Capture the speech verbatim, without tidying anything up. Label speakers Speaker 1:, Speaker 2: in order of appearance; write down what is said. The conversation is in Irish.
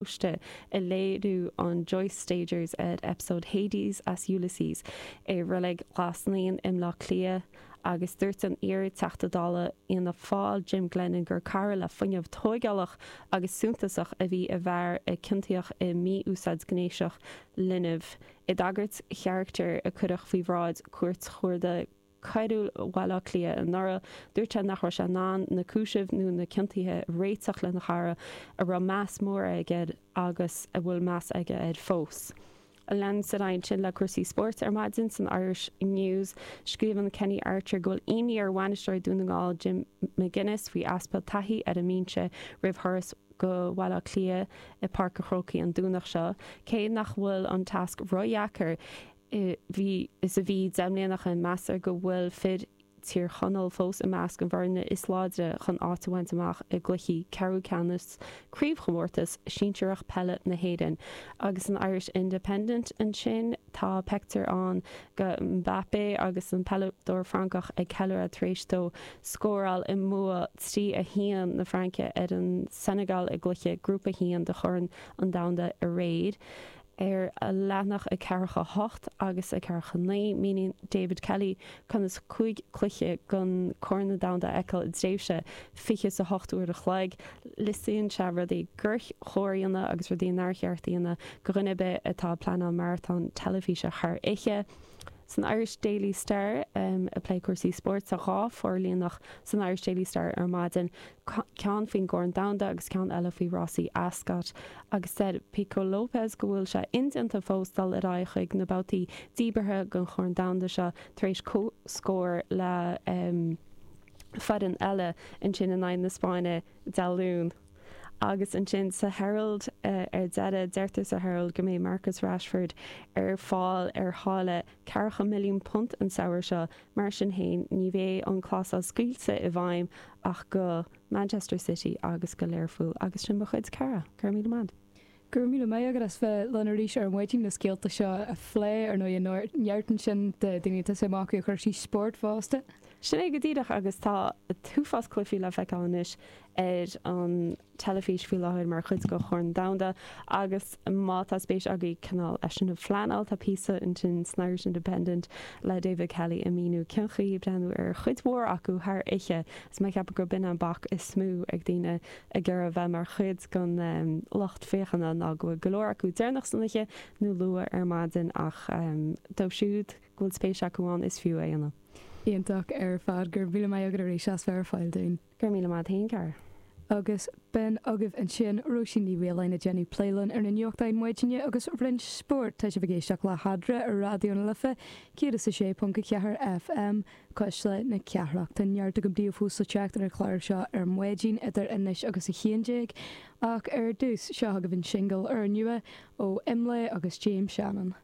Speaker 1: Paróiste i léiriú an Joyce Stagers ar episode Hades as Ulysses i Reilig Ghlas Naíon i mBleá Cliath agus dúirt an iar-Teachta Dála Fhianna Fáil Jim Glennon gur cara le fuinneamh tógálach agus suntasach a bhí i bhfear a ciontaíodh i mí-úsáid ghnéasach linbh. I dtagairt charachtair a cuireadh faoi bhráid Chúirt Chuarda Choiriúil Bhaile Átha Cliath anuraidh, dúirt sé nach raibh sé in ann na cúisimh nó na ciontuithe a réiteach lena chara a raibh meas mór aige air agus a bhfuil meas aige air fós. Leanfaimid ar aghaidh ansin le cúrsaí spóirt ar maidin san Irish News. Scríobhann Kenny Archer go bhfuil imní ar bhainisteoir Dún na nGall Jim McGuinness faoi easpa taithí ar an mbinse roimh thuras go Baile Átha Cliath i Páirc an Chrócaigh an Domhnach seo. Cé nach bhfuil an tasc ródheacair, bhí is a bhí deich mbliana ó shin, meastar go bhfuil fir Thír Chonaill fós i measc an bhfoirne is láidre chun áit a bhaint amach i gcluichí ceathrú ceannais Craobhchomórtas Sinsearach Peile na hÉireann. Agus san Irish Independent ansin tá pictiúr ann de Mbappé agus an peileadóir Francach ag ceiliúradh tar éis dó scóráil i mbua trí a haon na Fraince ar an Senegal i gcluiche Grúpa a haon de Chorn an Domhanda aréir. Ar leathanach a ceathracha hocht agus a ceathracha naoi, míníonn David Kelly conas cúig cluiche den Chorn Domhanda a fheiceáil i dtréimhse fiche is a hocht uair a chloig. Liostaíonn sé rudaí gur chóir a dhéanamh agus rudaí nár cheart a dhéanamh do dhuine ar bith atá ag pleanáil maratón teilifíse thar oíche. San Irish Daily Star, ag plé cúrsaí spóirt, tá dhá forlíonadh san Irish Daily Star ar maidin, ceann faoin gCorn Domhanda agus ceann eile faoi rásaí Ascot. Agus deir Pecco Lopez go bhfuil sé indéanta fós dul ar aghaidh chuig na babhtaí díbeartha den Chorn Domhanda seo tar éis comhscór le foireann eile ansin in aghaidh na Spáinne Dé Luain. Agus ansin sa Herald ar deireadh, deirtear sa Herald go mbeidh Marcus Rashford ar fáil ar tháille ceathracha milliún punt an samhradh seo. Mar sin féin, ní bheidh an clásal scaoilte i bhfeidhm ach go Manchester City agus go Learpholl. Agus sin mo chuid, Cara. Go raibh míle maith.
Speaker 2: Go raibh míle maith agat as bheith linn arís ar maidin na scéalta seo a phlé, ar ndóigh, neart ansin do daoine atá suim acu i gcúrsaí spóirt fosta.
Speaker 1: Sin é go díreach agus tá an t-uafás cluichí le feiceáil anois ar an teilifís faoi láthair mar chuid de Chorn Domhanda agus má tá spéis agaibh cineál é sin a phleanáil tá píosa ansin san Irish Independent le David Kelly ag míniú cén chaoi breathnú ar chuid mhór acu thar oíche is mé ag ceapadh gurb in an bac is mó ag daoine ag iarraidh a bheith mar chuid den lucht féachana ná go bhfuil go leor acu deireanach san oíche nó luath ar maidin ach dóibh siúd go bhfuil spéis acu ann is fiú é a dhéanamh.
Speaker 2: Iontach ar fad. Go raibh míle maith agat arís as bheith ar fáil dúinn.
Speaker 1: Go raibh míle maith agat féin, Cara.
Speaker 2: Agus b'in agaibh ansin Róisín Ní Mhaoláin ag déanamh plé linn ar na nuachtáin maidine agus roinnt spóirt. Tá sibh ag éisteacht le hEadra ar Raidió na Life céad is a sé ponc a ceathair FM, Cuisle na Cathrach. Tá neart agam daoibh fós le teacht ar an chlár seo ar maidin idir anois agus a haon déag ach ar dtús, seo agaibh an singil úrnua ó Imlé agus James Shannon.